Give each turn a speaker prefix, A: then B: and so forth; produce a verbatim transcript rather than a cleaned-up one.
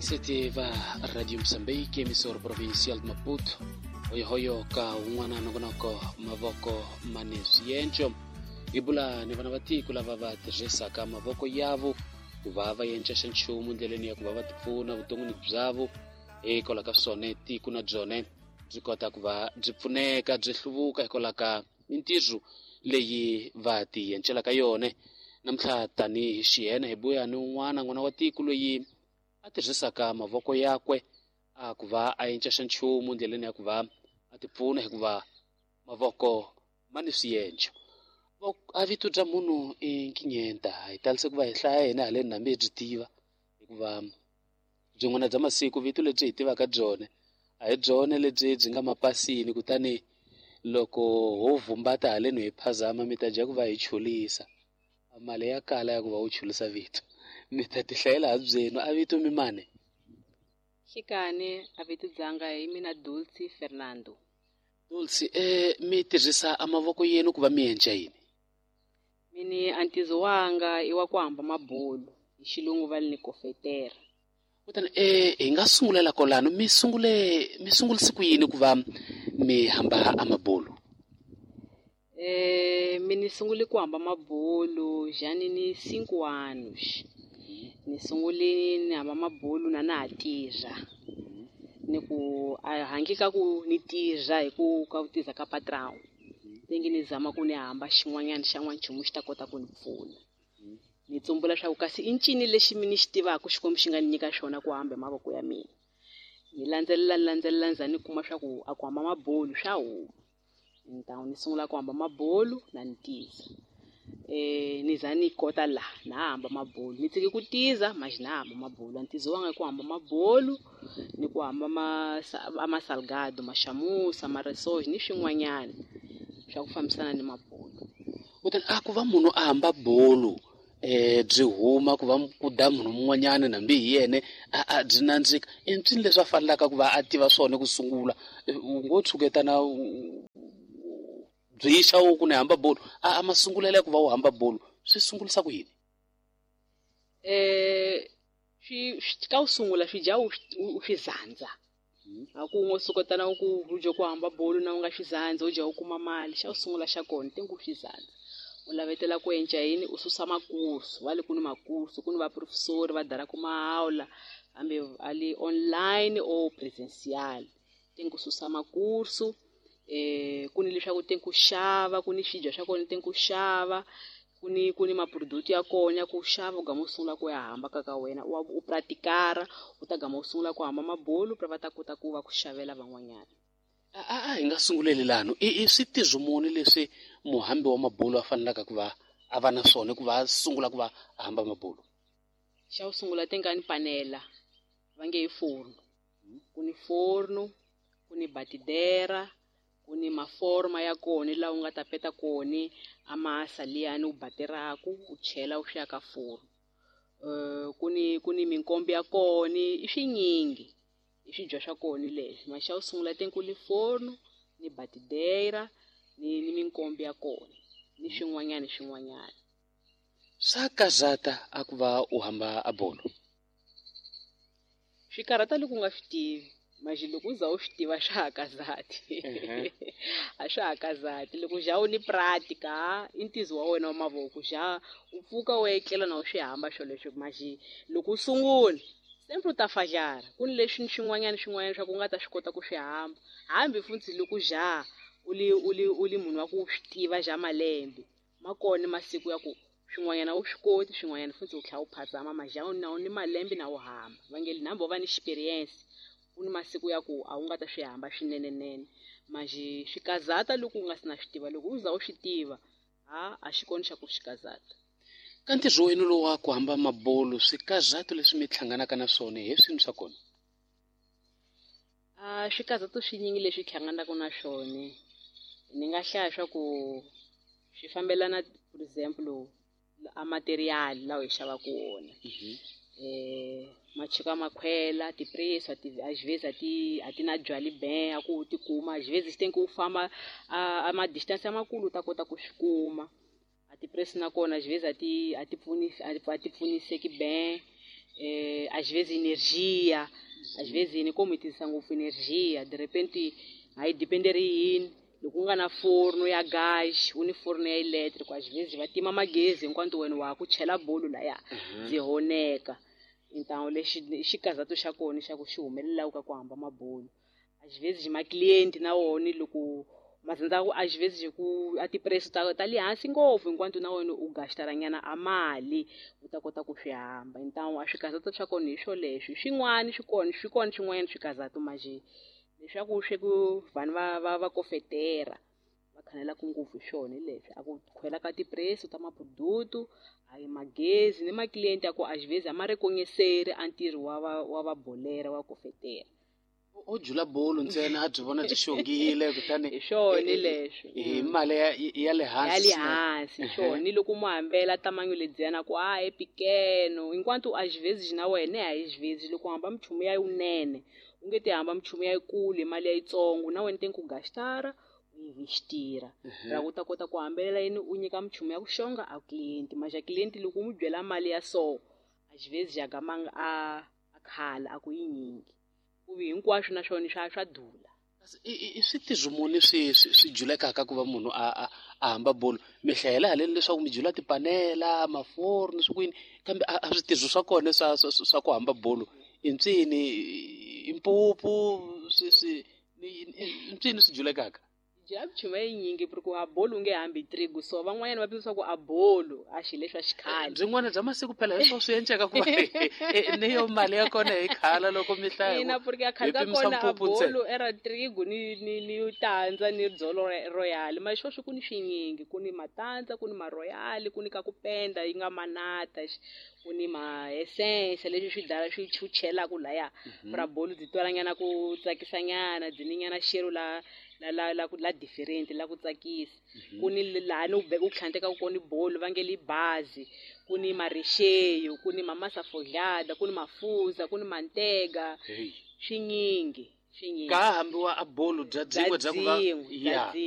A: Vayingiseti va Radio Mozambique, emissora provincial de Maputo, hoyohoyo ka un'wana nongonoko mavoko mane swienco. Hi bula ni vana va tiko lava va tirhisaka mavoko yavo ku va va yenca xa nchumu ndleleni ya ku va va tipfuna vuton'wini byavo. Hikwalaho ka swona tiko na byona byi kota ku va byi pfuneka byi hluvuka hikwalaho ka mintirho leyi va ti yencelaka yona. Namuntlha tanihi xiyena hi buya ni un'wana n'wana wa tiko loyi a tirhisaka mavoko yakwe a ku va a yenca xa nchumu ndleleni ya ku va a tipfuna, hikuva mavoko ma ni swienco. A vito bya munhu i Nkinyenta, hi talise ku va hi hlaya hina haleni hambi hi byi tiva, hikuva byin'wana bya masiku vito lebyi hi tivaka byona a hi byona lebyi byi nga mapasini, kutani loko ho vumbata haleni hi phazama mi ta dya ku va hi chulisa mali ya kala ya ku va u chulisa vito, mi ta ti hlayela ha byenu. A vito mi mane
B: xikani a vito dzanga hi mina Dulce Fernando.
A: Dulce, eh mi tirhisa a mavoko yenu ku va mi endla yini?
B: Mini antizo wanga i wa ku hamba mabulu, hi xilungu va ni kofetera.
A: Kutani eh hi nga sungulela kolano, mi sungule mi sungulise ku yini ku va mi hamba a mabulu?
B: Eh mini sungule ku hamba mabulu jani ni cinco anos. Ni sungule ni hamba mabulu na na ha tirha. Ni ku a hangi ka ku ni tirha hi ku ka ku tirha ka patrão. Tengi ni zama ku ni hamba xin'wanyana xa n'wanchumu xi ta kota ku ni pfuna. Ni tsumbula swa ku kasi i ncini lexi mi ni xi tivaka Xikwembu xi nga ni nyika xona ku hamba hi mavoko ya mina. Ni landzelela ni landzelela ni za ni kuma swa ku a ku hamba mabulu swa huma. Então ni sungula ku hamba mabulu na ni tiza. Eh ni za ni kota la na hamba mabulu. Ni tsiki ku tiza mas na hamba mabulu. Ntizo wanga ku hamba mabulu ni ku hamba ma ma salgado, machamusa, maresoj ni swin'wanyana swa ku fambisana ni mabulu.
A: Kutani a ku va munhu a hamba bulu eh byi huma ku va ku da munhu mun'wanyana nambi hi yena a a byi nandzika, i ncini leswi a fanelaka ku va a tiva swona ku sungula? U ngo tshuketana byi xa u ku ni hamba bulu, a a masungulela ku va u hamba bulu swi sungulisa ku yini?
B: Eh swi ka u sungula swi dya u swi zandza. A ku ngo suketana ku u dya ku hamba bulu na u nga swi zandza u dya u kuma mali, xa u sungula xa kona te ku swi zandza. U lavetela ku enca yini, u susa makursu, va le ku ni makursu, ku ni va professori va dara ku mahaula hambi ali online or presencial. Te ku susa makursu, eh ku ni leswaku te ku xava, ku ni swidya swa kona te ku xava, ku ni ku ni maproduct ya kona ku xava u gama u sungula ku ya hamba ka ka wena, u u pratikara, u ta gama u sungula ku hamba mabulu pra va ta kota ku va ku xavela van'wanyana.
A: A a hi nga sunguleli lano, i i switirho muni leswi muhambi wa mabulu a fanelaka ku va a va na swona ku va a sungula ku va a hamba mabulu?
B: Xa ku sungula te nga ni panela va nge hi forno, ku ni forno, ku ni batidera, ku ni maforma ya kona laha u nga ta peta kona a masa liyani u bateraku u chela u swi ya ka forno. Eh ku ni ku ni minkombe ya kona, i swinyingi i swidya swa kona leswi. Ma xa ku sungula te ku ni forno, ni batidera, ni ni minkombe ya kona, ni swin'wanyana swin'wanyana.
A: Swa karhata a ku va u hamba a bolo?
B: Swi karhata loko u nga swi tivi. Mas loko u za u swi tiva swa ha kazati. A swa ha kazati. Loko ja u ni pratica, i ntizo wa wena wa mavoko, ja u pfuka u etlela na u swi hamba swoleswo. Mas loko u sungula sempre u ta fajara, ku ni leswi swin'wanyana swin'wanyana swa ku u nga ta swi kota ku swi hamba. Hambi futhi loko ja u li u li u li munhu wa ku swi tiva ja malembe, ma kona masiku ya ku swin'wanyana u swi koti, swin'wanyana futhi u tlhela u phazama, mas ja na u ni malembe na u hamba. Va nge hambi wo va ni experience, ku ni masiku ya ku a wu nga ta swi hamba swinenenene. Mas swi kazata loko u nga si na swi tiva, loko u za u swi tiva, ha a xi kona xa ku swi kazata.
A: Ka ntirho wenu lowu wa ku hamba mabulu, swikazato leswi mi hlanganaka na swona hi swini swa kona?
B: A swikazato swinyingi leswi hlanganaka na swona, ni nga hlaya swa ku swi fambelana, for example, a material lawa hi xavaka wona. Eh machuka makhwela, ti-preço, às vezes a ti a ti na byali ben a ku u ti kuma, às vezes tem que u famba a a ma distance makulu u ta kota ku swi kuma. A ti-preço na kona às vezes a ti a ti pfuni a ti pfuniseki ben. Eh Às vezes energia, às vezes ni como tirhisa ngopfu energia, de repente a yi dependeri yini loko u nga na forno ya gas u ni forno ya electric, às vezes va tima magezi hinkwato wena wa ha ku chela bolo laya byi honeka. Então lexi xikazato xa kona xa ku xi humelelaka ka ku hamba mabolo, às vezes ma-cliente na wona loko mazandza ku às vezes ku a ti-preço ta ta le hansi ngopfu hinkwato na wena u gastara nyana a mali u ta kota ku swi hamba. Então a swikazato swa kona hi swoleswo, swin'wana swi kona swi kona swin'wanyana swikazato manje leswaku swi ku vanhu va va va kofetera va khanelaka ngopfu hi swona hi leswi a ku khwela ka ti-preço ta ma-produto a yi magezi ni ma-client ya ku às vezes a ma reconhecer a ntirho wa va wa va bolera wa kofetera.
A: O jula bolo ntsena a byi vona byi xongile kutani
B: hi swona leswo
A: hi mali ya ya le hansi
B: ya le hansi hi swona ni loko mu hambela tamanyo ledziyana ku a e pequeno enquanto às vezes na wena às vezes loko u hamba minchumu ya yinene u nge ti hamba minchumu ya yikulu hi mali ya yitsongo na wena tem ku gastara u investira ra ku ta kota ku hambelela yini u nyika minchumu ya ku xonga a cliente mas a cliente loko u n'wi byela mali ya so às vezes a gamanga a a khala a ku yinyingi ku vi hinkwaswo na swona swa swa dula.
A: I switirho muni swi swi julekaka ku va munhu a a a hamba bolo mi hlayela haleni leswaku mi jula tipanela maforno swi kwini kambe a switirho swa kona swa swa ku hamba bolo i ntsini i mpupu swi swi i ntsini swi julekaka
B: jula minchumu yinyingi porque a bolo u nge hambi trigo so van'wanyana va pimisa ku a bolo a xilo leswa xikhale
A: byin'wana bya masiku phela hi swo swi enceka ku va ni yo mali ya kona hi khala loko mi hlaya
B: ina porque a khale ka kona a bolo era trigo ni ni ni tandza ni dzolo royal mas sweswi ku ni swinyingi ku ni matandza ku ni ma-royal ku ni ka ku penda yi nga manata ku ni ma-essence leswi swi dala swi chuchelaku laya pra bolo byi twalanyana ku tsakisanyana byi ni nyana xero la la la la la different la ku tsakisa ku ni laha ni u u tlhandlekaka kona bolo va nge li bazi ku ni marexeyo ku ni mamasa forjada ku ni mafuza ku ni mantega swinyingi swinyingi
A: ka hambiwa a bolo bya byin'we bya ku va
B: ya